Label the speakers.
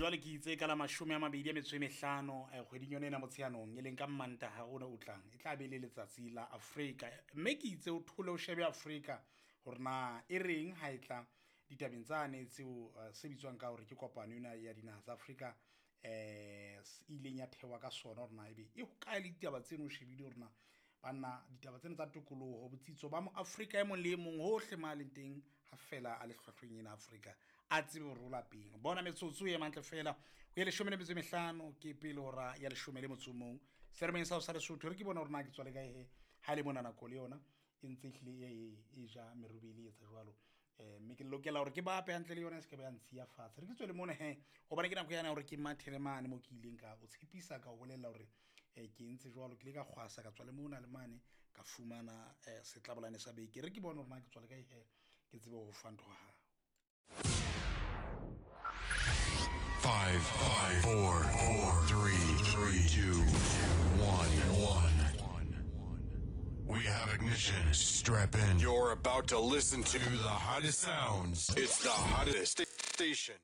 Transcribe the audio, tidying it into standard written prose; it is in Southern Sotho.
Speaker 1: Jwale ke itse ka la 25 kgweding yone ena Motsheanong, e leng ka Mmantaha ona o tlang, e tla be le letsatsi la Afrika. Mme ke itse o thole o shebe Afrika hore na e reng ha e tla ditabeng tsane tseo se bitswang ka hore ke kopano ena ya dinaha tsa Afrika, ileng ya thewa ka sona, hore na ebe e hokae le ditaba tseno. O shebile hore na banna ditaba tsena tsa tokoloho, botsitso ba mo Afrika e mong le e mong hohle ma leng teng, ha fela a le hlwahlweng ena Afrika, a tsebe hore o lapeng. Bona metsotso e mantle fela ho ye 15 ke pele hora ya 11 seremeng sa ho sa Lesotho. Re ke bona hore na ke tswale kae he, ha e le mona nako le yona e ntse ehlile e ja merubele, e etsa jwalo. Mme ke lokela hore ke bape hantle le yona, e se ke ba ya ntshiya fatshe. Re ke tswele mona he, hobane ke nako yana hore ke mathele mane mo ke ileng ka o tshepisa, ka o bolella hore ke entse jwalo. Ke ile ka kgwasa, ka tswa le mona le mane, ka fumana setlabolane sa beke. Re ke bone hore na ke tswale kae he, ke tsebe ho fa ntho ha
Speaker 2: 5, 5, 4, 4, 3, 3, 2, 1, 1. We have ignition. Strap in. You're about to listen to the hottest sounds. It's the hottest station.